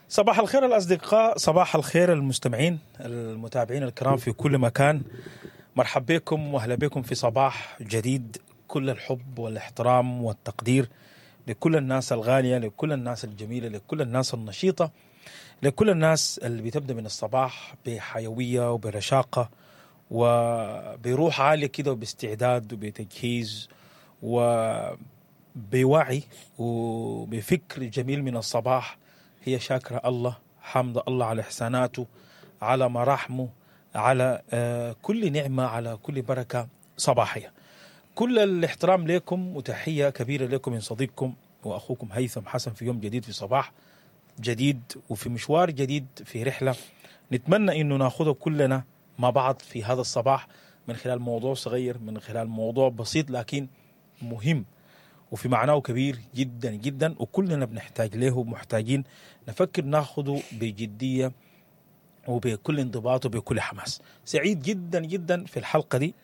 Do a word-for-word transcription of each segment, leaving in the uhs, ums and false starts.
صباح الخير الأصدقاء، صباح الخير المستمعين المتابعين الكرام في كل مكان. مرحب بكم واهلا بكم في صباح جديد. كل الحب والاحترام والتقدير لكل الناس الغالية، لكل الناس الجميلة، لكل الناس النشيطة، لكل الناس اللي بتبدأ من الصباح بحيوية وبرشاقة وبروح عالية كده وباستعداد وبتجهيز وبوعي وبفكر جميل من الصباح. هي شاكرة الله، حامدة الله على إحساناته، على مراحمه، على آه، كل نعمة، على كل بركة صباحية. كل الاحترام لكم وتحية كبيرة لكم من صديقكم وأخوكم هيثم حسن في يوم جديد، في صباح جديد، وفي مشوار جديد، في رحلة نتمنى إنه ناخذه كلنا مع بعض في هذا الصباح، من خلال موضوع صغير، من خلال موضوع بسيط لكن مهم وفي معناه كبير جدا جدا، وكلنا بنحتاج له ومحتاجين نفكر ناخده بجدية وبكل انضباط وبكل حماس. سعيد جدا جدا في الحلقة دي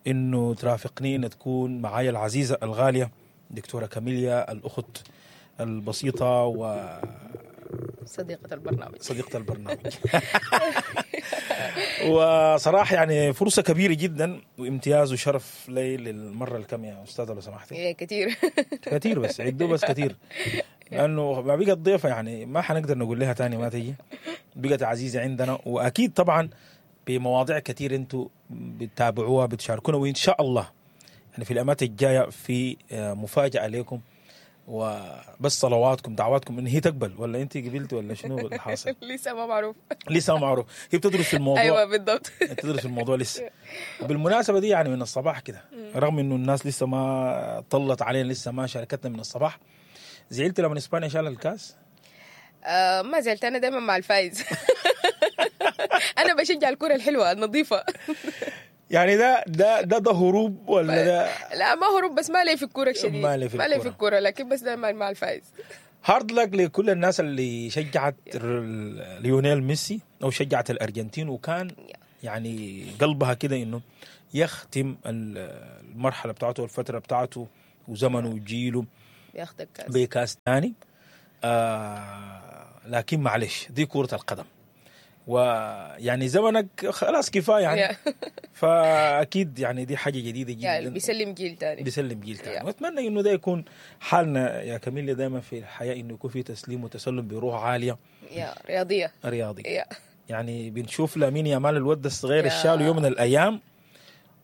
انه ترافقني، ان تكون معايا العزيزة الغالية دكتورة كاميليا، الأخت البسيطة صديقة البرنامج. وصديقة البرنامج. وصراحة يعني فرصة كبيرة جدا وامتياز وشرف لي للمرة الكم يا أستاذة لو سمحتي؟ إيه، كتير. كثير، بس عدوا بس كثير، لانه ما بقت ضيفه يعني ما حنقدر نقول لها تاني ما تيجي، بقت عزيزه عندنا، واكيد طبعا بمواضيع كثير انتم بتتابعوها بتشاركونا، وان شاء الله يعني في الايامات الجاية في آه، مفاجاة لكم، وبس صلواتكم دعواتكم ان هي تقبل، ولا انت قبلت ولا شنو اللي حاصل؟ لسه ما معروف. لسه ما معروف، هي بتدرس في الموضوع. ايوه بالضبط. تدرس الموضوع لسه. وبالمناسبة دي يعني من الصباح كده، رغم انه الناس لسه ما طلت علينا، لسه ما شاركتنا من الصباح، زعلت لما اسبانيا شال الكاس؟ آه ما زعلت، انا دايما مع الفايز. انا بشجع الكرة الحلوة النظيفة. يعني ده ده ده ده هروب ولا ده؟ لا ما هروب، بس ما لي في الكورة شديد. ما لي في ما لي في الكرة. الكورة، لكن بس دايما مع الفايز. hard luck لكل الناس اللي شجعت ال- ليونيل ميسي او شجعت الارجنتين، وكان يعني قلبها كده انه يختم ال- المرحلة بتاعته والفترة بتاعته وزمنه وجيله بياخد الكاس بكاس ثاني. آه لكن معلش، دي كرة القدم، ويعني زمنك خلاص كفاية يعني. yeah. فاكيد يعني دي حاجة جديدة يعني جدا، بيسلم جيل تاني. بيسلم جيل ثاني. yeah. واتمنى انه ده يكون حالنا يا كاميليا دائما في الحياة، انه يكون في تسليم وتسلم بروح عالية yeah رياضية. رياضي. yeah يعني بنشوف لامين يامال الود الصغير yeah. الشالو يوم من الايام،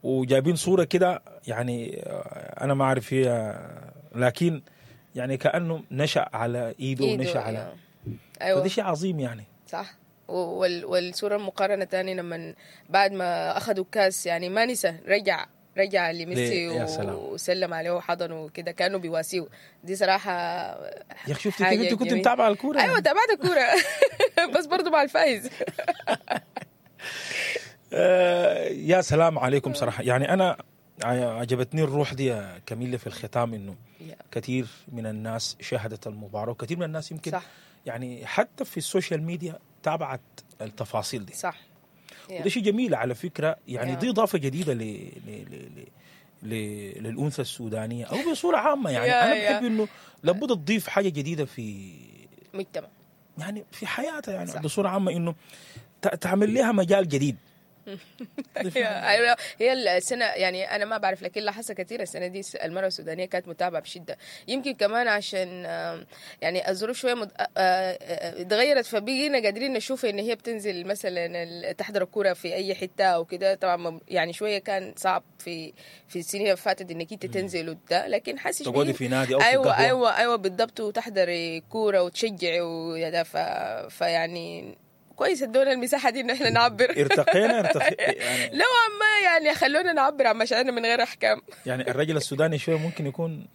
وجايبين صوره كده يعني آه، انا ما اعرف هي، لكن يعني كانه نشا على ايده إيده، ونشا على yeah. ايوه فده شيء عظيم يعني. صح. وال والصورة المقارنة تاني لما بعد ما أخذوا الكاس، يعني ما نسى، رجع رجع لميسي ليه؟ يا سلام. وسلم عليه وحضنه وكده، كأنه بيواسيه. دي صراحة يا اخي شفتي حاجة كيف انت كنت جميلة. متابعه الكورة؟ أيوة يعني. تابعت الكورة بس برضو مع الفايز. آه يا سلام عليكم صراحة، يعني انا عجبتني الروح دي يا كاميلا في الختام، انه كثير من الناس شاهدت المباراة، وكثير من الناس يمكن صح يعني حتى في ال social media تابعت التفاصيل دي. صح. وده شيء جميل على فكرة، يعني yeah. دي اضافه جديدة ل... ل... ل... ل... للانثى السودانية او بصورة عامة يعني. yeah انا yeah. بحب انه لابد تضيف حاجة جديدة في مجتمع يعني في حياتها يعني صح. بصورة عامة، انه ت... تعمل لها مجال جديد. تضيف لها ايوه هي السنة يعني انا ما بعرف، لكن لاحظت كثير السنة دي المراة السودانية كانت متابعه بشده، يمكن كمان عشان آم، يعني الظروف شوية مد... آه، آه، اتغيرت، فبقينا قادرين نشوف ان هي بتنزل مثلا ال- تحضر الكورة في اي حتة او كده. طبعا ما- يعني شوية كان صعب في في السنين اللي فاتت انك انت تنزل وده، لكن حاسس تقعدي بقينا- في نادي او في ايوه قهوة. ايوه ايوه بالضبط، وتحضري كورة وتشجعي ويا ف... فيعني كويس ادونا المساحة دي ان احنا نعبر. ارتقينا ارتقي يعني. نوعا ما يعني خلونا نعبر عن مشاعرنا من غير احكام. يعني الرجل السوداني شوية ممكن يكون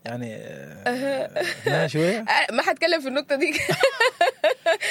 يعني آه، هنا شوية. آه، ما حتكلم في النقطة دي.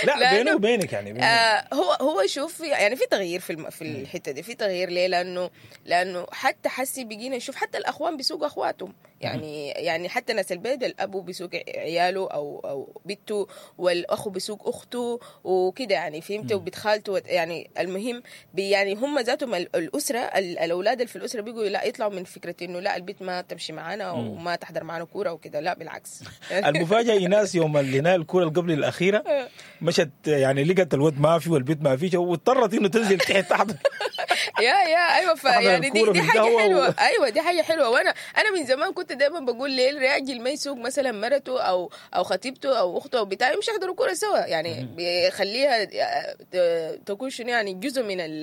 لا بيني وبينك يعني بيني. آه هو هو شوف يعني في تغيير في الم... في الحتة دي، في تغيير ليه؟ لانه لانه حتى حسي بقينا نشوف حتى الاخوان بيسوقوا اخواتهم، يعني يعني حتى ناس البيت الاب بيسوق عياله او او بنته، والاخو بيسوق اخته وكده يعني، فهمت؟ وبنت خالته، يعني المهم بي يعني هم ذاتهم الاسرة، الاولاد اللي في الاسرة بيقوا لا يطلعوا من فكرة انه لا البيت ما تمشي معانا وما تحضر معانا كورة وكده، لا بالعكس. المفاجاة ايناس يوم اللي نال الكورة اللي قبل الاخيرة مشت يعني لقت الود ما في والبيت ما فيش، واضطرت انه تنزل تحت تحضر. يا يا ايوه، فيعني دي دي حاجة حلوة. ايوه دي حاجة حلوة. وانا انا من زمان كنت دايما بقول ليه الراجل ما يسوق مثلا مرته او او خطيبته او اخته او بتاع، يمشي يحضروا كورة سوا، يعني بيخليها تكون شنو يعني جزء من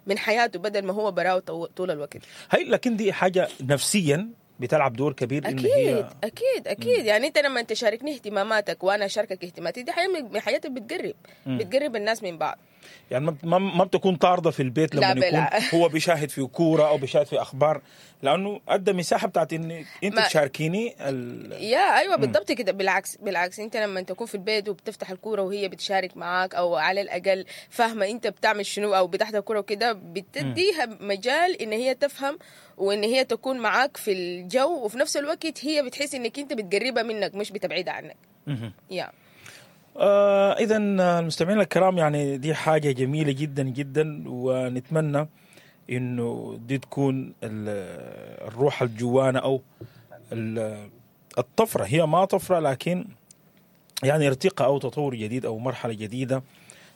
من حياته بدل ما هو براه طول الوقت. هي لكن دي حاجة نفسيا بتلعب دور كبير. اكيد إن هي اكيد اكيد. مم. يعني انت لما تشاركني اهتماماتك وانا اشاركك اهتماماتي، دي حاجة من حياتك بتقرب. مم. بتقرب الناس من بعض. يعني ما ما بتكون طارده في البيت لما يكون هو بيشاهد في كورة او بيشاهد في اخبار، لانه ادى مساحة بتاعت ان انت تشاركيني ال... يا ايوه بالضبط كده. بالعكس بالعكس، انت لما تكون في البيت وبتفتح الكورة وهي بتشارك معاك، او على الاقل فاهمه انت بتعمل شنو او بتحضر كورة وكده، بتديها مجال ان هي تفهم وان هي تكون معاك في الجو، وفي نفس الوقت هي بتحس انك انت بتقربها منك مش بتبعدها عنك. يا آه إذا المستمعين الكرام، يعني دي حاجة جميلة جدا جدا، ونتمنى إنه دي تكون الروح الجوانة أو الطفرة. هي ما طفرة لكن يعني ارتقاء أو تطور جديد أو مرحلة جديدة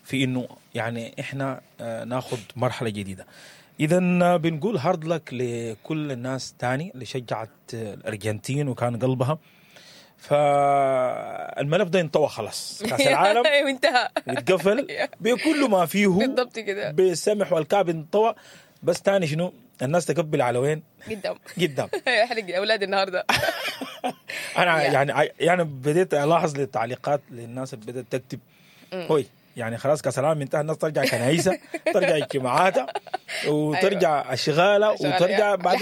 في إنه يعني إحنا ناخد مرحلة جديدة. إذا بنقول hard luck لكل الناس تاني اللي شجعت الأرجنتين وكان قلبها، فالملف ده انطوى خلاص، كاس العالم انتهى واتقفل بكل ما فيه بالضبط كده، بالسمح والكعب انطوى. بس تاني شنو الناس تقبل على وين؟ قدام قدام. احرق اولاد النهارده. انا يعني يعني بديت الاحظ للتعليقات للناس اللي بدات تكتب هوي يعني خلاص كاس العالم انتهى، الناس ترجع كنايسها، ترجع اجتماعاتها، وترجع اشغالها، وترجع بعد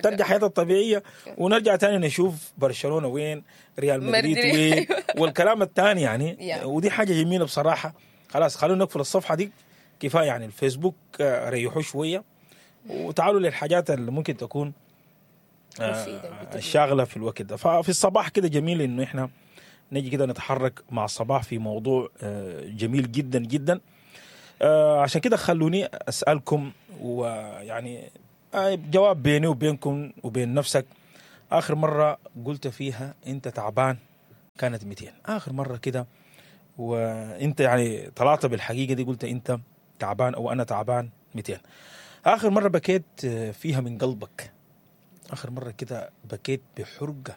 ترجع حياتها الطبيعية، ونرجع تاني نشوف برشلونة وين، ريال مدريد وين، والكلام الثاني يعني. ودي حاجة جميلة بصراحة. خلاص خلونا نقفل الصفحة دي كفاية، يعني الفيسبوك ريحوه شوية وتعالوا للحاجات اللي ممكن تكون الشاغله في الوقت ده. ففي الصباح كده جميل انه احنا نجي كده نتحرك مع الصباح في موضوع جميل جدا جدا. عشان كده خلوني أسألكم، ويعني جواب بيني وبينكم وبين نفسك، آخر مرة قلت فيها أنت تعبان كانت مئتين؟ آخر مرة كده وأنت يعني طلعت بالحقيقة دي قلت أنت تعبان أو أنا تعبان مئتين؟ آخر مرة بكيت فيها من قلبك، آخر مرة كده بكيت بحرقة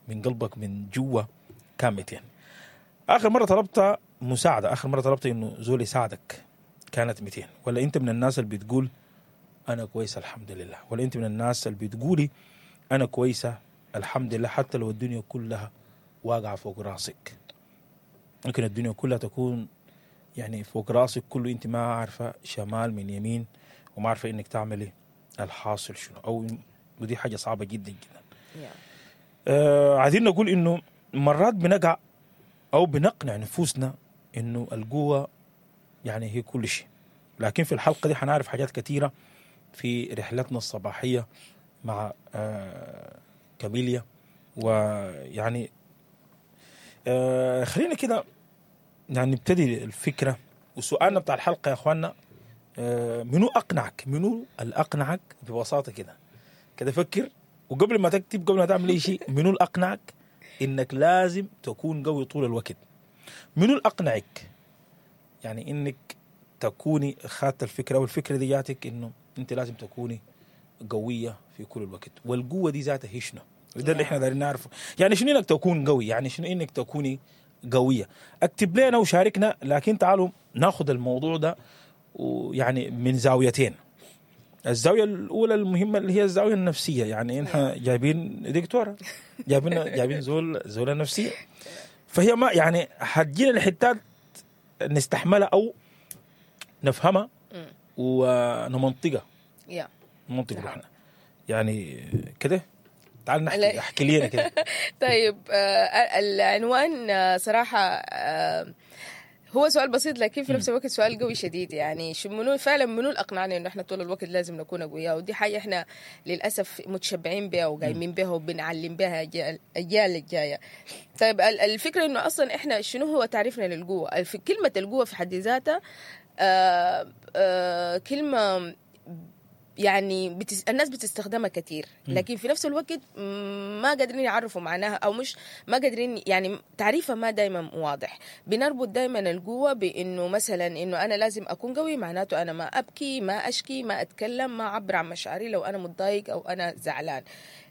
من قلبك من جوا كان مئتين؟ آخر مرة طلبت مساعدة، آخر مرة طلبت إنه زول يساعدك كانت مئتين؟ ولا أنت من الناس اللي بتقول أنا كويسة الحمد لله؟ ولا أنت من الناس اللي بتقولي أنا كويسة الحمد لله حتى لو الدنيا كلها واقعة فوق راسك؟ ممكن الدنيا كلها تكون يعني فوق راسك كله، أنت ما عارفة شمال من يمين وما عارفة إنك تعملي الحاصل شنو، أو ودي حاجة صعبة جدا جدا. آه عايزين نقول إنه مرات بنقع أو بنقنع نفوسنا إنه القوة يعني هي كل شيء، لكن في الحلقة دي حنعرف حاجات كثيرة في رحلتنا الصباحية مع آه كاميليا. ويعني آه خلينا كده يعني نبتدي الفكرة. وسؤالنا بتاع الحلقة يا أخواننا، آه منو أقنعك، منو الأقنعك ببساطة كده كده فكر، وقبل ما تكتب قبل ما تعمل أي شيء، منو الأقنعك إنك لازم تكون قوي طول الوقت؟ منو الأقنعك يعني إنك تكوني خدت الفكرة والفكرة دي جاتك إنه أنت لازم تكوني قوية في كل الوقت؟ والقوة دي ذاتها هي شنو؟ وده اللي إحنا دارين نعرفه، يعني شنو إنك تكون قوي، يعني شنو إنك تكوني قوية. اكتب لنا وشاركنا، لكن تعالوا ناخذ الموضوع ده ويعني من زاويتين. الزاوية الأولى المهمة اللي هي الزاوية النفسية، يعني إحنا جايبين دكتورة، جايبين جايبين زول زولة نفسية، فهي ما يعني حتجينا الحتات نستحملها أو نفهمها ونمنطقها، نمنطق روحنا يعني كده. تعال نحكي، احكي لنا كده. طيب آه العنوان صراحة آه هو سؤال بسيط لكن في نفس الوقت سؤال قوي شديد. يعني شو منو فعلا منو اللي اقنعنا انه احنا طول الوقت لازم نكون اقوياء؟ ودي حاجة احنا للاسف متشبعين بها وقايمين بها وبنعلم بها الاجيال الجاية. طيب الفكرة انه اصلا احنا شنو هو تعريفنا للقوة؟ كلمة القوة في حد ذاتها آه آه كلمة يعني بتس... الناس بتستخدمها كثير، لكن في نفس الوقت ما قادرين يعرفوا معناها، او مش ما قادرين يعني تعريفها ما دايما واضح. بنربط دايما القوة بانه مثلا انه انا لازم اكون قوي، معناته انا ما ابكي، ما اشكي، ما اتكلم، ما اعبر عن مشاعري لو انا متضايق او انا زعلان.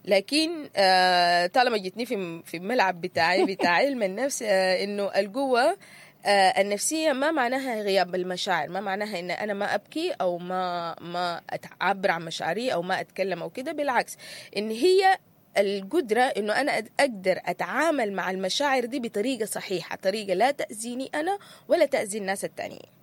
لكن آه طالما جتني في في الملعب بتاعي بتاع علم النفس، آه انه القوة آه النفسية ما معناها غياب المشاعر، ما معناها إن أنا ما أبكي أو ما ما أعبر عن مشاعري أو ما أتكلم أو كده. بالعكس، إن هي القدرة إنه أنا أقدر أتعامل مع المشاعر دي بطريقة صحيحة، طريقة لا تأذيني أنا ولا تأذي الناس التانيين.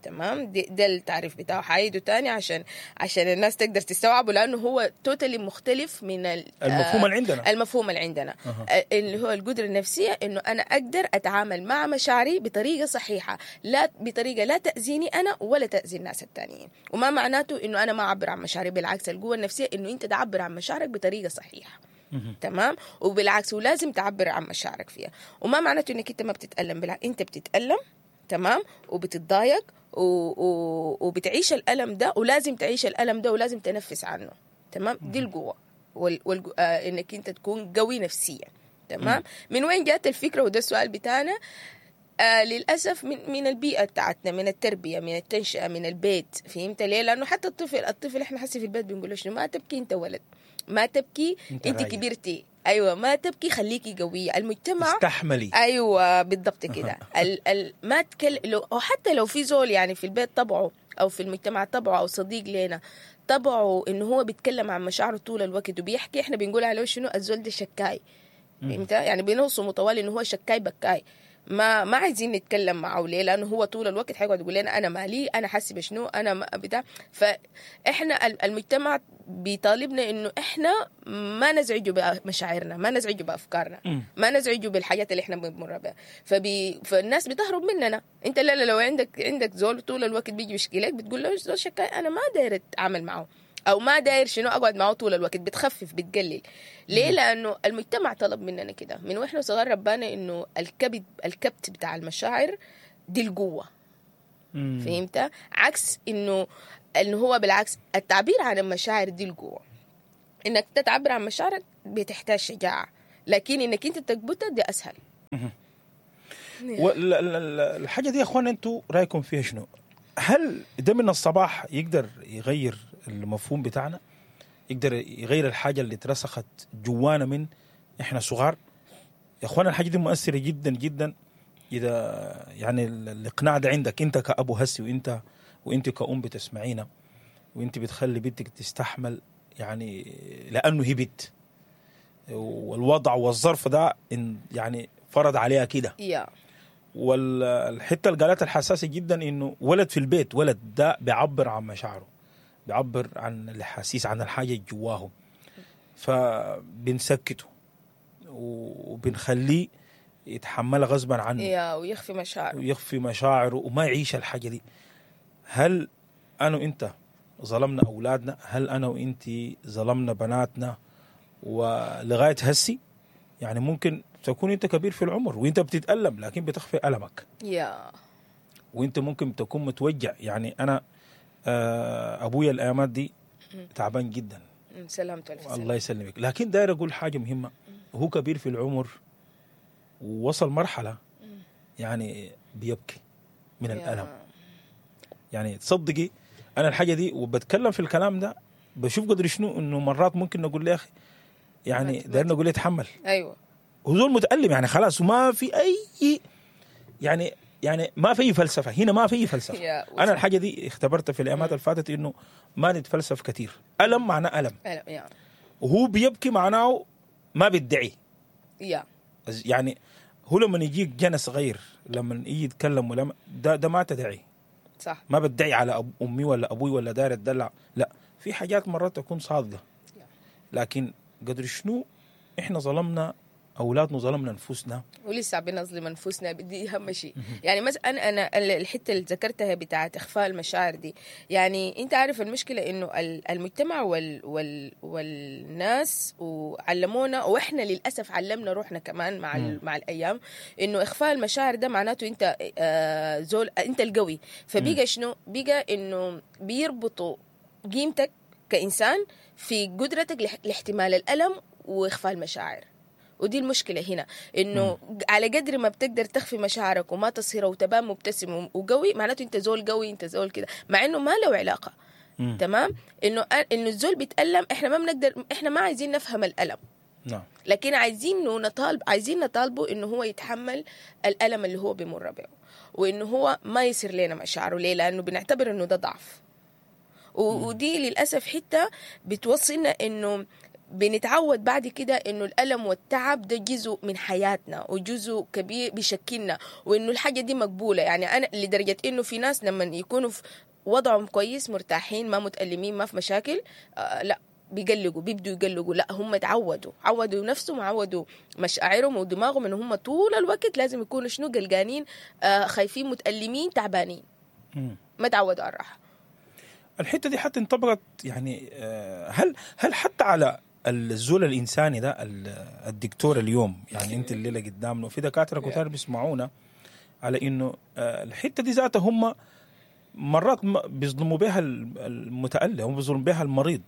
تمام، ده التعريف بتاعه. حعيده تاني عشان عشان الناس تقدر تستوعبه، لانه هو totally مختلف من المفهوم اللي عندنا. المفهوم اللي عندنا أه. اللي هو القدرة النفسية انه انا اقدر اتعامل مع مشاعري بطريقة صحيحه، لا بطريقة لا تاذيني انا ولا تاذي الناس التانيين. وما معناته انه انا ما اعبر عن مشاعري، بالعكس القوة النفسية انه انت تعبر عن مشاعرك بطريقة صحيحه. تمام، وبالعكس ولازم تعبر عن مشاعرك فيها. وما معناته انك انت ما بتتالم، بالعكس انت بتتالم، تمام، وبتتضايق و... و... وبتعيش الألم ده، ولازم تعيش الألم ده ولازم تنفس عنه. تمام، دي القوة وال... وال... آه إنك أنت تكون قوي نفسيا. تمام. من وين جات الفكرة؟ وده السؤال بتاعنا. آه للأسف من من البيئة بتاعتنا، من التربية، من التنشئة، من البيت. فهمت ليه؟ لأنه حتى الطفل الطفل إحنا حسي في البيت بنقول له شنو؟ ما تبكي أنت ولد، ما تبكي أنت, انت كبرتي، ايوه ما تبكي، خليكي قوية. المجتمع استحملي، ايوه بالضبط كده. ال ال ما تكل لو، او حتى لو في زول يعني في البيت طبعه او في المجتمع طبعه او صديق لنا طبعه انه هو بيتكلم عن مشاعره طول الوقت وبيحكي، احنا بنقول عليه شنو؟ الزول ده شكاي. فهمت؟ يعني بنوصمه طوال انه هو شكاي بكاي، ما ما عايزين نتكلم معه. ليه؟ لانه هو طول الوقت حيقعد يقول لنا انا مالي، انا حاسه بشنو، انا ما بتاع. فاحنا المجتمع بيطالبنا انه احنا ما نزعجه بمشاعرنا، ما نزعجه بافكارنا، ما نزعجه بالحاجات اللي احنا بنمر بها. فبي فالناس بتهرب مننا. انت لا لا لو عندك عندك زول طول الوقت بيجي يشكي لك، بتقول له زول شكاي، انا ما داير اتعامل معه، او ما داير شنو اقعد معه طول الوقت. بتخفف، بتقلل. ليه؟ لانه المجتمع طلب مننا كده من واحنا صغار. ربانا انه الكبت الكبت بتاع المشاعر دي القوة. فهمت؟ عكس انه انه هو بالعكس التعبير عن المشاعر دي القوة. انك تتعبر عن مشاعرك بتحتاج شجاعة، لكن انك انت تكبتها دي اسهل. والحاجة دي يا اخوان انتوا رايكم فيها شنو؟ هل ده من الصباح يقدر يغير المفهوم بتاعنا؟ يقدر يغير الحاجة اللي اترسخت جوانا من احنا صغار؟ يا اخوانا الحاجة دي مؤثرة جدا جدا. اذا يعني الاقناع ده عندك انت كأبو هسي، وانت وانت كأم بتسمعينا، وانت بتخلي بنتك تستحمل يعني لانه هي بنت، والوضع والظرف ده إن يعني فرض عليها كده. yeah. والحتة اللي قالتها الحساسة جدا انه ولد في البيت، ولد ده بيعبر عن مشاعره، بيعبر عن الحسيس، عن الحاجة جواه، فبنسكته وبنخليه يتحملها غصبا عنه، يا ويخفي مشاعره، ويخفي مشاعره وما يعيش الحاجة دي. هل انا وانت ظلمنا اولادنا؟ هل انا وانت ظلمنا بناتنا؟ ولغاية هسي يعني ممكن تكون انت كبير في العمر وانت بتتألم لكن بتخفي ألمك، يا وانت ممكن تكون متوجع. يعني انا ابويا الايامات دي تعبان جدا، سلامته، الف سلامة، الله يسلمك. لكن داير اقول حاجة مهمة، هو كبير في العمر ووصل مرحلة يعني بيبكي من الالم. يعني تصدقي انا الحاجة دي وبتكلم في الكلام ده بشوف قدر شنو انه مرات ممكن نقول له يا اخي يعني داير نقول له اتحمل، ايوه هو زول متألم يعني خلاص، وما في اي يعني يعني ما في فلسفة هنا، ما في فلسفة. انا الحاجة دي اختبرتها في الايامات اللي فاتت انه ما نتفلسف كثير. الم معناه الم، وهو بيبكي معناه ما بيدعي. يعني هو لما يجيك جنى صغير لما يجي يتكلم ولا ده ده ما تدعي، صح، ما بدعي على أب امي ولا ابوي ولا داير اتدلع، لا، في حاجات مرات تكون صادقة. لكن قدر شنو احنا ظلمنا اولادنا وظلمنا انفسنا. ولسه بنظلم انفسنا، دي اهم شيء. يعني مثلا انا انا الحتة اللي ذكرتها بتاعت اخفاء المشاعر دي، يعني انت عارف المشكلة انه ال- المجتمع وال وال والناس وعلمونا، واحنا للاسف علمنا روحنا كمان مع ال- مع الايام، انه اخفاء المشاعر ده معناته انت آه، زول، انت القوي. فبقى شنو؟ بقى انه بيربطوا قيمتك كانسان في قدرتك لاح- لاحتمال الالم واخفاء المشاعر. ودي المشكلة هنا، انه على قدر ما بتقدر تخفي مشاعرك وما تصهرها وتبان مبتسم وقوي، معناته انت زول قوي، انت زول كده، مع انه ما له علاقة. مم. تمام؟ انه انه الزول بيتألم، احنا ما بنقدر، احنا ما عايزين نفهم الألم، نعم لكن عايزين نطالب، عايزين نطالبه انه هو يتحمل الألم اللي هو بيمر به، وانه هو ما يصير لنا مشاعره. ليه؟ لانه بنعتبر انه ده ضعف. و- ودي للاسف حتة بتوصلنا انه بنتعود بعد كده انه الالم والتعب ده جزء من حياتنا وجزء كبير بيشكلنا، وانه الحاجة دي مقبولة. يعني انا لدرجة انه في ناس لما يكونوا في وضعهم كويس، مرتاحين، ما متألمين، ما في مشاكل، آه لا بيقلقوا، بيبدوا يقلقوا. لا هم تعودوا، عودوا نفسهم، عودوا مشاعرهم ودماغهم انه هم طول الوقت لازم يكونوا شنو؟ قلقانين، آه خايفين، متألمين، تعبانين. مم. ما تعودوا على الراحة. الحتة دي حتى انطبقت يعني، آه، هل هل حتى على الزول الانساني ده، ال- الدكتور اليوم، يعني انت الليلة قدامنا وفي دكاترة كتار بيسمعونا على انه آه، الحتة دي ذاتها هم مرات ما- بيظلموا بها ال- المتألم وبيظلموا بها المريض،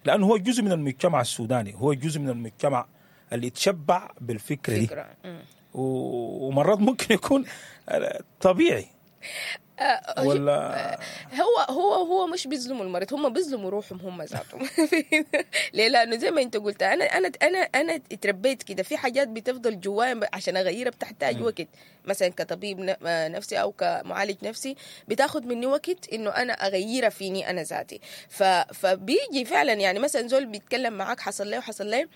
لانه هو جزء من المجتمع السوداني، هو جزء من المجتمع اللي يتشبع بالفكرة دي. فكرة. مم. و- ومرات ممكن يكون آه، طبيعي ولا هو هو هو مش بيظلموا المريض، هم بيظلموا روحهم هم ذاتهم. ليه؟ لانه زي ما انت قلت، انا انا انا انا اتربيت كده، في حاجات بتفضل جوايا عشان اغيرها بتحتاج وقت. مثلا كطبيب ن- آه نفسي او كمعالج نفسي بتاخد مني وقت انه انا اغيرها فيني انا ذاتي. ف فبيجي فعلا يعني مثلا زول بيتكلم معاك حصل ليه وحصل ليه،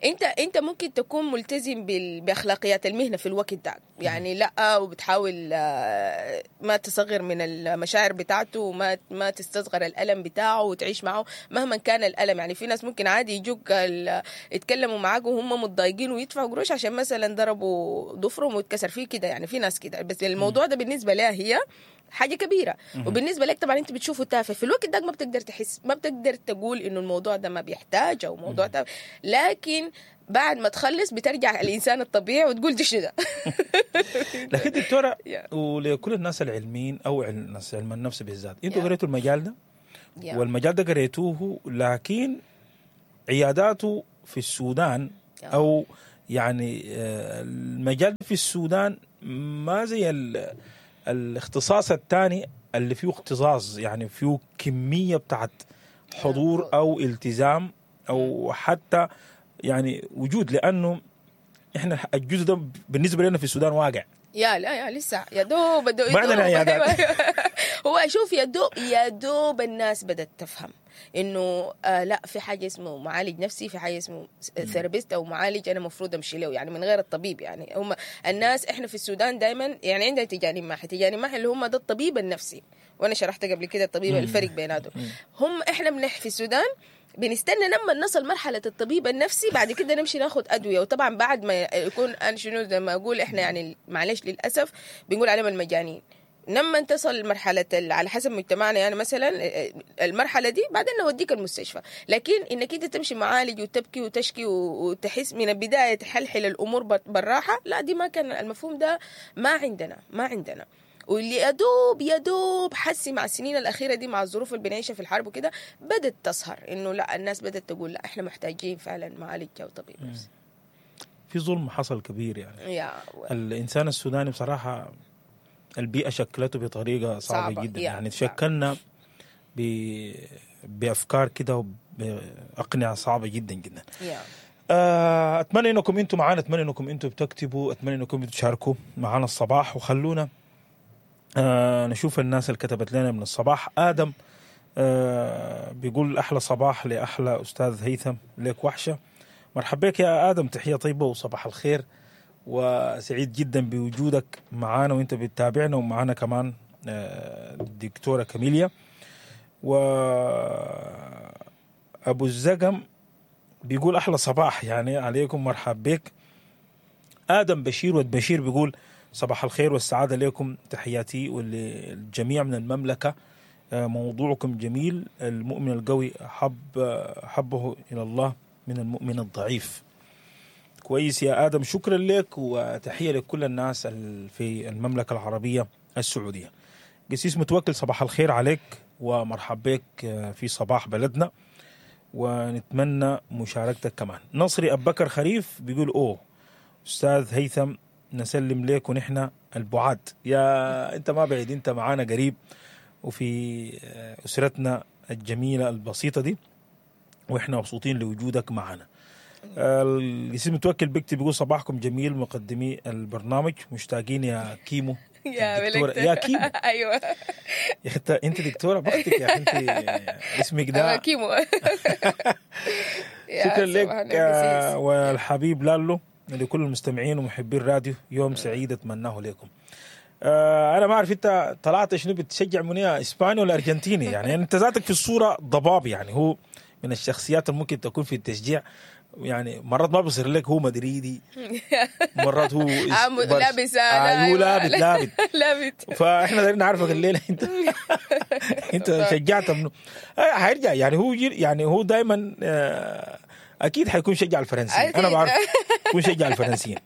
انت انت ممكن تكون ملتزم بال- باخلاقيات المهنة في الوقت ده، يعني لا، وبتحاول آه، ما تصغر من المشاعر بتاعته، وما ما تستصغر الالم بتاعه، وتعيش معه مهما كان الالم. يعني في ناس ممكن عادي يجوك ال- يتكلموا معاك وهم متضايقين ويدفعوا قروش عشان مثلا ضربوا ضفرهم واتكسر فيه كده، يعني في ناس كده، بس الموضوع ده بالنسبة لها هي حاجة كبيرة، وبالنسبة لك طبعا انت بتشوفه تافه في الوقت ده، ما بتقدر تحس، ما بتقدر تقول انه الموضوع ده ما بيحتاج او موضوع تافه، لكن بعد ما تخلص بترجع الانسان الطبيعي وتقول دي شنو ده. لكن دكتورة، Yeah. ولكل الناس العلميين او عل- الناس علم النفس بالذات، انتوا Yeah. قريتوا المجال ده Yeah. والمجال ده قريتوه، لكن عياداته في السودان Yeah. او يعني آه، المجال في السودان ما زي ال- الاختصاص الثاني اللي فيه اختصاص، يعني فيه كمية بتاعت حضور او التزام او حتى يعني وجود، لانه احنا الجزء ده بالنسبة لنا في السودان واقع. يا لا يا لسه يا دوب بدو ما عندنا عيادات. هو شوف، يا دوب يا دوب الناس بدأت تفهم انه آه لا، في حاجة اسمه معالج نفسي، في حاجة اسمه therapist او معالج انا المفروض امشي له، يعني من غير الطبيب. يعني هم الناس احنا في السودان دائما يعني عندنا تجاني ماحي، تجاني ماحي اللي هم ده الطبيب النفسي، وانا شرحت قبل كده الطبيب الفرق بيناتهم. هم احنا بنح في السودان بنستنى لما نصل مرحلة الطبيب النفسي، بعد كده نمشي ناخد أدوية. وطبعا بعد ما يكون أنا شنو زي ما أقول إحنا يعني معلش للأسف بنقول عليهم المجانين، لما تصل مرحلة ال- على حسب مجتمعنا يعني مثلا المرحلة دي بعدين نوديك المستشفى. لكن انك انت تمشي معالج وتبكي وتشكي و- وتحس من البداية تحلحل الامور بر- بالراحة، لا دي ما كان المفهوم ده، ما عندنا، ما عندنا. واللي يا دوب يا دوب حسي مع السنين الأخيرة دي مع الظروف اللي بنعيشها في الحرب وكده بدت تظهر إنه لا، الناس بدت تقول لا احنا محتاجين فعلا معالج أو طبيب نفسي. في ظلم حصل كبير يعني. يا الانسان السوداني بصراحة البيئة شكلته بطريقة صعبة، صعبة، جدا. يا، يعني صعبة. تشكلنا ب... بافكار كده وباقنعه صعبة جدا جدا. يا آه، اتمنى انكم انتم معانا، اتمنى انكم انتم بتكتبوا، اتمنى انكم انتم تشاركوا معانا الصباح، وخلونا آه نشوف الناس اللي كتبت لنا من الصباح. ادم آه بيقول احلى صباح لاحلى استاذ هيثم، لك وحشة. مرحبا بك يا ادم، تحية طيبة وصباح الخير، وسعيد جدا بوجودك معانا وانت بتتابعنا، ومعانا كمان آه، الدكتورة كاميليا. و ابو الزقم بيقول احلى صباح يعني عليكم، مرحب بك. ادم بشير ود بشير بيقول صباح الخير والسعادة لكم، تحياتي وللجميع من المملكة. آه، موضوعكم جميل. المؤمن القوي حب حبه الى الله من المؤمن الضعيف. كويس يا ادم، شكرا لك وتحية لكل الناس ال- في المملكة العربية السعودية. قسيس متوكل، صباح الخير عليك ومرحب بك آه، في صباح بلدنا، ونتمنى مشاركتك كمان. نصري ابو بكر خريف بيقول اوه استاذ هيثم نسلم لك ونحن البعاد. يا انت ما بعيد، انت معانا قريب وفي آه، اسرتنا الجميلة البسيطة دي، واحنا مبسوطين لوجودك معنا. القسيس متوكل بيكتب بيقول صباحكم جميل مقدمي البرنامج، مشتاقين يا كيمو. يا الدكتورة- ملكت. يا كيمو. ايوه. يا اخي انت انت دكتورة بختك يا اخي، انت اسمك أنا ده. كيمو. يا شكرا لك صباح النور آه، قسيس. والحبيب لالو، لكل المستمعين ومحبي الراديو يوم سعيد اتمناه لكم. آه، انا ما اعرف انت طلعت شنو، بتشجع منيا اسباني ولا ارجنتيني؟ يعني انت ذاتك في الصورة ضباب، يعني هو من الشخصيات اللي ممكن تكون في التشجيع، يعني مرات ما بيصير لك هو مدريدي، مرات هو آه، م- برش- لابس، آه، آه، هو أيوة. لابت لابت لابت. فاحنا دايرين نعرفك الليلة انت انت شجعت منه. آه، حيرجع يعني هو جيل- يعني هو دائما اكيد حيكون شجع الفرنسيين، انا أكيد. بعرف يكون شجع الفرنسيين.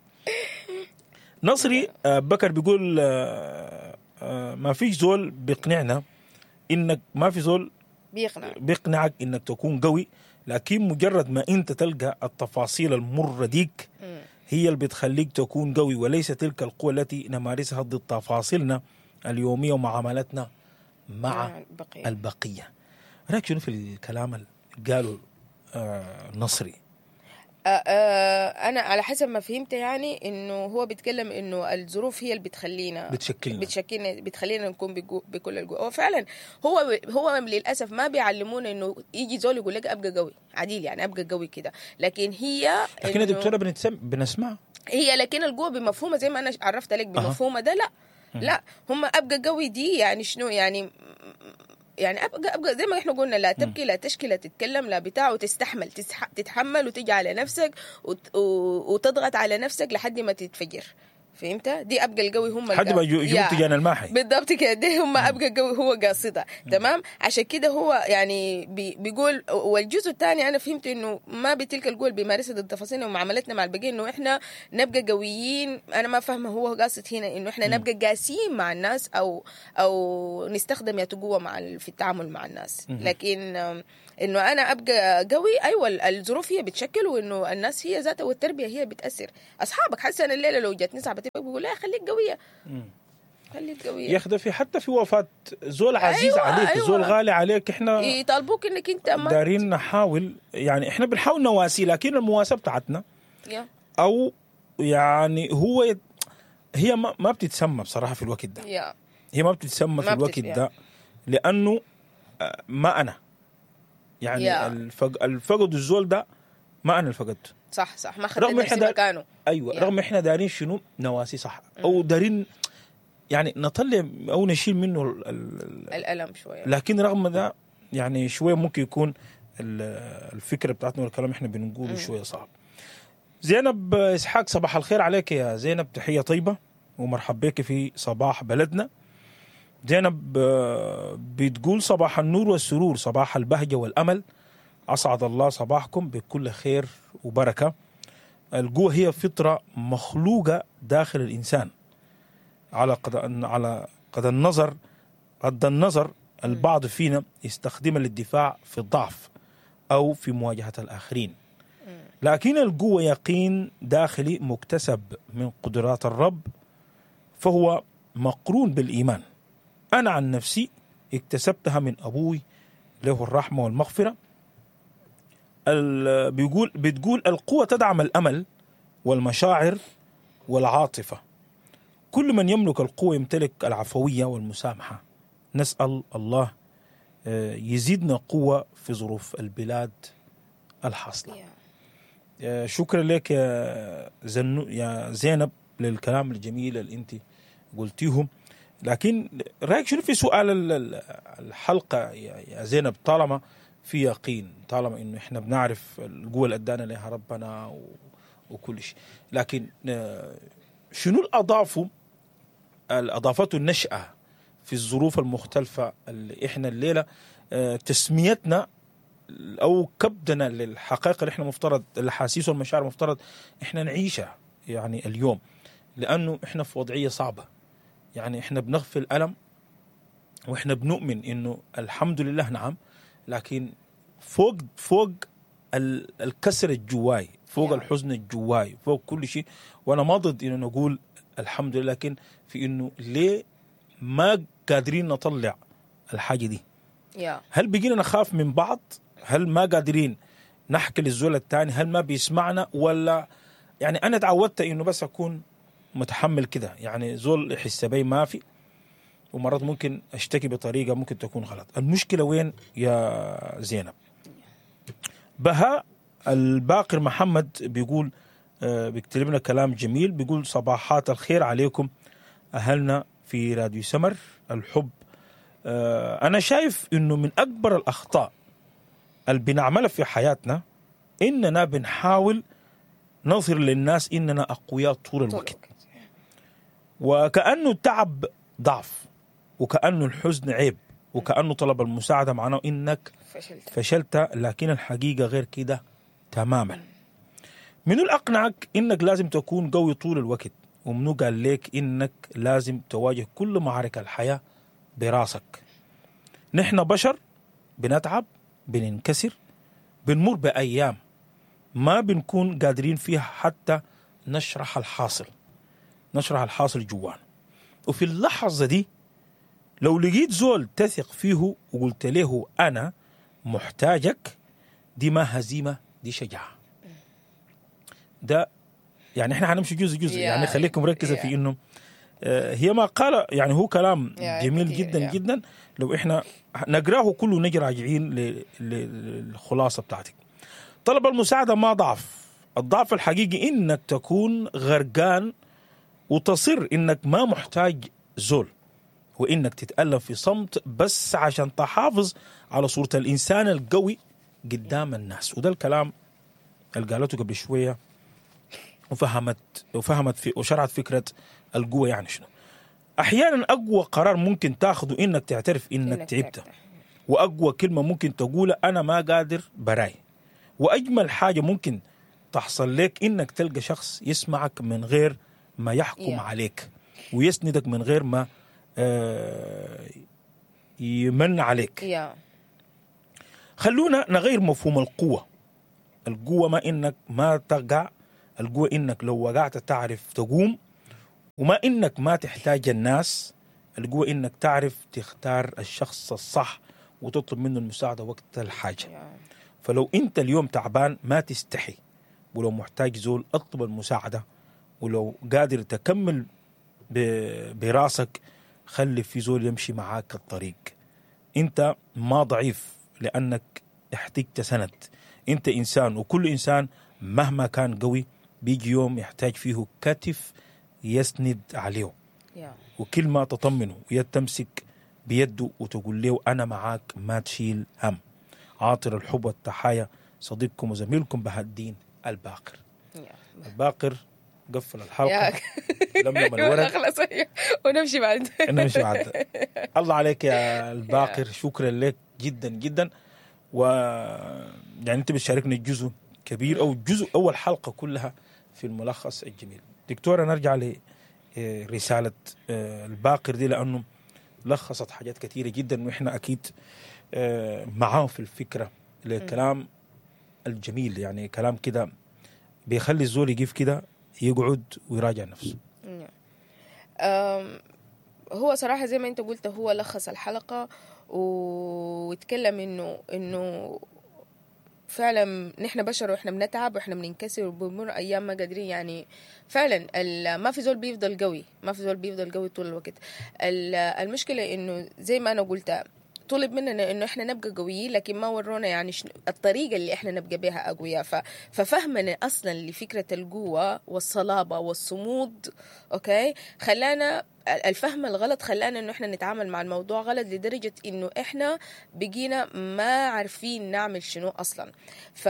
نصري آه، بكر بيقول آه، آه، ما فيش زول بيقنعنا انك ما في زول بيقنع بيقنعك انك تكون قوي، لكن مجرد ما انت تلقى التفاصيل المرة ديك هي اللي بتخليك تكون قوي، وليس تلك القوة التي نمارسها ضد تفاصيلنا اليومية ومعاملتنا مع مع البقية. البقية. رأيك شنو في الكلام اللي قاله آه نصري؟ آه، آه، انا على حسب ما فهمت يعني انه هو بيتكلم انه الظروف هي اللي بتخلينا بتشكلنا. بتشكلنا، بتخلينا نكون بجو- بكل القوة. هو فعلا هو هو للاسف ما بيعلمونا انه يجي زول يقول لك ابقى قوي عديل، يعني ابقى قوي كده، لكن هي لكن يا إنه- دكتورة بنتسم بنسمع هي لكن القوة بمفهومة زي ما أنا عرفت لك بمفهومة ده، لا لا هم أبقى قوي دي يعني شنو يعني؟ يعني أبقى أبقى زي ما إحنا قلنا، لا تبكي لا تشكي لا تتكلم لا بتاع، وتستحمل تسح تتحمل وتجي على نفسك وت وتضغط على نفسك لحد ما تتفجر. فهمت؟ دي أبقى القوي هم لحد ما القوي. يجوا يا. تجان الماحي. بالضبط كده، دي هم ابقى قوي هو قاصدها. تمام، عشان كده هو يعني بي بيقول. والجزء الثاني انا فهمت انه ما بتلك القوة اللي بيمارسها ضد تفاصيلنا ومعاملتنا مع البقية، انه احنا نبقى قويين. انا ما فاهمه هو قاصد هنا انه احنا نبقى قاسيين مع الناس او او نستخدم يا قوة مع ال- في التعامل مع الناس، لكن آم، انه انا ابقى قوي ايوه ال- الظروف هي بتشكل، وانه الناس هي ذاتها والتربية هي بتاثر. اصحابك حاسه انا الليلة لو جاتني صاحبتي بقول لها خليك قوية، خليك قوية. يا اخي ده في حتى في وفاه زول عزيز أيوة، عليك، أيوة. زول غالي عليك، احنا يطالبوك انك انت ما دارين نحاول، يعني احنا بنحاول نواسي، لكن المواساة بتاعتنا يا او يعني هو يت... هي ما, ما بتتسمى بصراحة في الوقت ده، يا هي ما بتتسمى في ما الوقت بتت- ده لانه آه، ما انا يعني يا. الفق... الفقد الزول ده ما انا اللي فقدته. صح صح، ما خدت رغم نفسي إحنا دا- مكانه. ايوه يا. رغم احنا دارين شنو نواسي صح، او دارين يعني نطلع او نشيل منه ال... ال... الالم شوية. لكن رغم ده يعني شوية ممكن يكون ال- الفكرة بتاعتنا والكلام احنا بنقوله شوية صعب. زينب اسحاق، صباح الخير عليك يا زينب، تحية طيبة ومرحب بك في صباح بلدنا. زينب آه، بتقول صباح النور والسرور، صباح البهجة والامل، اسعد الله صباحكم بكل خير وبركة. القوة هي فطره مخلوقه داخل الانسان، على قد على قد النظر قد النظر البعض فينا يستخدمها للدفاع في الضعف أو في مواجهة الآخرين، لكن القوة يقين داخلي مكتسب من قدرات الرب، فهو مقرون بالإيمان. أنا عن نفسي اكتسبتها من أبوي له الرحمة والمغفرة. ال- بيقول بتقول القوة تدعم الأمل والمشاعر والعاطفة. كل من يملك القوة يمتلك العفوية والمسامحة. نسأل الله آه، يزيدنا قوة في ظروف البلاد الحاصلة. يا. آه، شكرا لك يا زنو يا زينب للكلام الجميل اللي انت قلتيه. لكن رايك شنو في سؤال ال- ال- الحلقة يا يا زينب؟ طالما في يقين، طالما انه احنا بنعرف القوة اللي ادانا لها ربنا و- وكل شيء. لكن آه، شنو الاضافة اضافته النشاة في الظروف المختلفة اللي احنا الليلة آه، تسميتنا او كبدنا للحقائق اللي احنا مفترض الاحاسيس والمشاعر المفترض احنا نعيشها يعني اليوم، لانه احنا في وضعية صعبة. يعني احنا بنغفل الم واحنا بنؤمن انه الحمد لله نعم، لكن فوق فوق الكسر الجواي، فوق الحزن الجواي، فوق كل شيء. وانا ما ضد انه نقول الحمد لله، لكن في انه ليه ما قادرين نطلع الحاجة دي؟ هل بقينا نخاف من بعض؟ هل ما قادرين نحكي للزول الثاني؟ هل ما بيسمعنا؟ ولا يعني انا تعودت انه بس اكون متحمل كده، يعني زول يحس بي ما في، ومرات ممكن اشتكي بطريقة ممكن تكون غلط. المشكلة وين يا زينب؟ بهاء الباقر محمد بيقول، بيكتب لنا كلام جميل، بيقول صباحات الخير عليكم اهلنا في راديو سمر الحب. انا شايف انه من اكبر الاخطاء اللي بنعملها في حياتنا اننا بنحاول نظهر للناس اننا اقوياء طول الوقت، وكأنه التعب ضعف، وكأنه الحزن عيب، وكأنه طلب المساعدة معناه إنك فشلت, فشلت. لكن الحقيقة غير كده تماما. منو الأقنعك إنك لازم تكون قوي طول الوقت؟ ومنو قال لك إنك لازم تواجه كل معارك الحياة براسك؟ نحن بشر بنتعب، بننكسر، بنمر بأيام ما بنكون قادرين فيها حتى نشرح الحاصل، نشرح الحاصل جوانا. وفي اللحظة دي لو لقيت زول تثق فيه وقلت له أنا محتاجك، دي ما هزيمة، دي شجاعة. ده يعني احنا هنمشي جزء جزء، يعني خليكم مركزة في إنه هي ما قال، يعني هو كلام جميل جدا جدا. لو احنا نقراه كله نجي راجعين للخلاصة بتاعتك. طلب المساعدة ما ضعف، الضعف الحقيقي إنك تكون غرقان وتصر إنك ما محتاج زول، وإنك تتألم في صمت بس عشان تحافظ على صورة الإنسان القوي قدام الناس. وده الكلام اللي قالته قبل شوية، وفهمت وفهمت في وشرحت فكرة القوة يعني شنو. أحيانا أقوى قرار ممكن تاخده إنك تعترف إنك, إنك تعبت، وأقوى كلمة ممكن تقولها أنا ما قادر براي، وأجمل حاجة ممكن تحصل لك إنك تلقى شخص يسمعك من غير ما يحكم yeah. عليك، ويسندك من غير ما يمن عليك. yeah. خلونا نغير مفهوم القوة. القوة ما إنك ما تقع، القوة إنك لو وقعت تعرف تقوم، وما إنك ما تحتاج الناس. القوة إنك تعرف تختار الشخص الصح وتطلب منه المساعدة وقت الحاجة. yeah. فلو أنت اليوم تعبان ما تستحي، ولو محتاج زول اطلب المساعدة، ولو قادر تكمل براسك خلي في زول يمشي معاك الطريق. انت ما ضعيف لانك احتجت سند، انت انسان، وكل انسان مهما كان قوي بيجي يوم يحتاج فيه كتف يسند عليه وكلمة تطمنه ويد تمسك بيده وتقول له انا معاك ما تشيل هم. عاطر الحب والتحايا صديقكم وزميلكم بهاء الدين الباقر. الباقر قفل الحلقة، لملم الورق ونمشي بعد نمشي بعد. الله عليك يا الباقر، شكرا لك جدا جدا. و يعني انت بتشاركنا جزء كبير او جزء اول حلقة كلها في الملخص الجميل. دكتورة نرجع لرسالة الباقر دي لانه لخصت حاجات كثيرة جدا، واحنا اكيد معاه في الفكرة للكلام الجميل، يعني كلام كده بيخلي الزول يقف كده يقعد ويراجع نفسه. هو صراحة زي ما انت قلت هو لخص الحلقة واتكلم انه انه فعلا نحن بشر واحنا بنتعب واحنا بننكسر وبنمر ايام ما قادرين، يعني فعلا ما في زول بيفضل قوي، ما في زول بيفضل قوي طول الوقت. المشكلة انه زي ما انا قلت طلب مننا انه احنا نبقى قويين، لكن ما ورونا يعني الطريقة اللي احنا نبقى بها اقوياء. ففهمنا اصلا لفكرة القوة والصلابه والصمود okay خلانا الفهم الغلط خلانا انه احنا نتعامل مع الموضوع غلط لدرجة انه احنا بقينا ما عارفين نعمل شنو اصلا. ف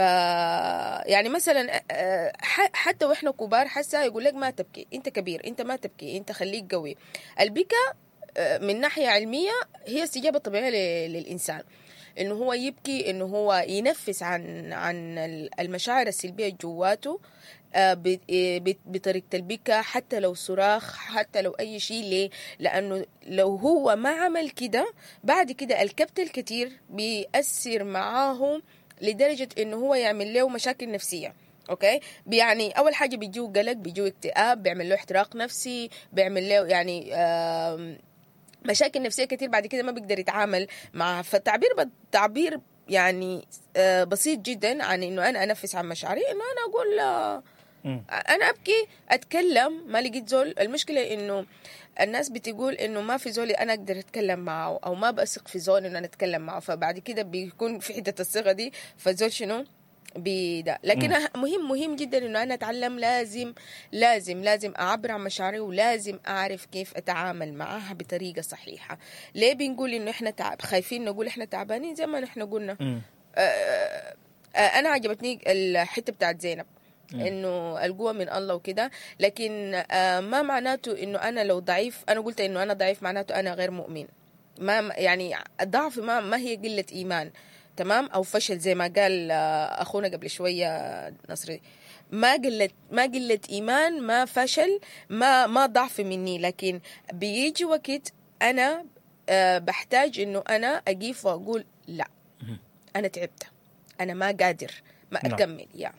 يعني مثلا آه، ح- حتى واحنا كبار حسا يقول لك ما تبكي، انت كبير، انت ما تبكي، انت خليك قوي. البكا آه، من ناحية علمية هي استجابة طبيعية ل- للانسان، انه هو يبكي، انه هو ينفس عن عن المشاعر السلبية جواته آه، ب- آه، بت- بطريقة البكا، حتى لو صراخ، حتى لو اي شيء. ليه؟ لانه لو هو ما عمل كده بعد كده الكبت الكتير بيأثر معاه لدرجة انه هو يعمل له مشاكل نفسية. okay، يعني اول حاجة بيجيه قلق، بيجيه اكتئاب، بيعمل له احتراق نفسي، بيعمل له يعني آم، مشاكل نفسية كتير بعد كده ما بيقدر يتعامل معها. فالتعبير تعبير يعني آه، بسيط جدا عن انه انا انفس عن مشاعري، انه انا اقول آه، مم. انا ابكي، اتكلم، ما لقيت زول. المشكلة انه الناس بتقول انه ما في زول انا اقدر اتكلم معه، او ما بثق في زول انه انا اتكلم معه، فبعد كده بيكون في حتة الثقة دي، فزول شنو بدا. لكن مهم مهم جدا انه انا اتعلم، لازم لازم لازم اعبر عن مشاعري، ولازم اعرف كيف اتعامل معها بطريقة صحيحه. ليه بنقول انه احنا تعب، خايفين نقول احنا تعبانين؟ زي ما نحن قلنا. مم. آه، آه، انا عجبتني الحتة بتاعت زينب انه القوة من الله وكده، لكن آه، ما معناته انه انا لو ضعيف، انا قلت انه انا ضعيف معناته انا غير مؤمن. ما يعني الضعف ما ما هي قلة ايمان، تمام، او فشل زي ما قال آه، اخونا قبل شوية نصري. ما قلة ما قلة ايمان، ما فشل، ما ما ضعف مني، لكن بيجي وقت انا آه، بحتاج انه انا اقيف واقول لا، انا تعبت، انا ما قادر ما نعم. اكمل يا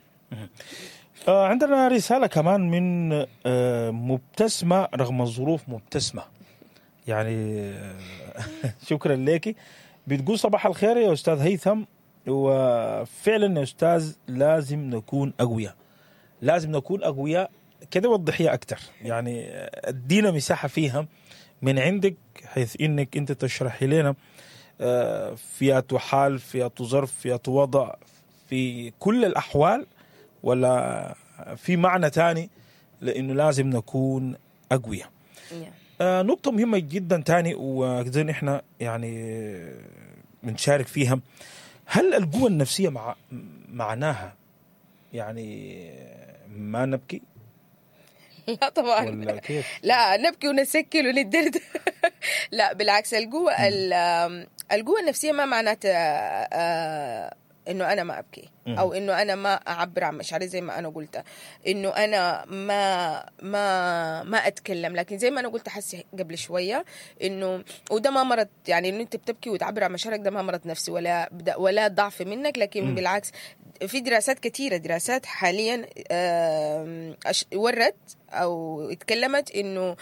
آه، عندنا رسالة كمان من آه، مبتسمة رغم الظروف، مبتسمة يعني آه، شكرا لك. بتقول صباح الخير يا أستاذ هيثم، وفعلا يا أستاذ لازم نكون أقوياء، لازم نكون أقوياء كده. وضحيها أكتر يعني، آه، ادينا مساحة فيها من عندك، حيث إنك أنت تشرحي لنا آه، فيها حال، فيها ظرف، فيها وضع، في كل الأحوال، ولا في معنى تاني لانه لازم نكون اقوياء. يا. آه نقطة مهمة جدا تاني وزي احنا يعني بنشارك فيها، هل القوة النفسية مع معناها يعني ما نبكي لا طبعا. ولا كيف؟ لا نبكي ونسكل وندرد. لا بالعكس، القوة ال- القوة النفسية ما معناتها آه، انه انا ما ابكي او انه انا ما اعبر عن مشاعري زي ما انا قلت، انه انا ما ما ما اتكلم. لكن زي ما انا قلت حسي قبل شوية انه وده ما مرض، يعني انه انت بتبكي وتعبر عن مشاعرك ده ما مرض نفسي ولا ولا ضعف منك، لكن مم. بالعكس في دراسات كثيرة، دراسات حاليا آم، أش- ورت او اتكلمت انه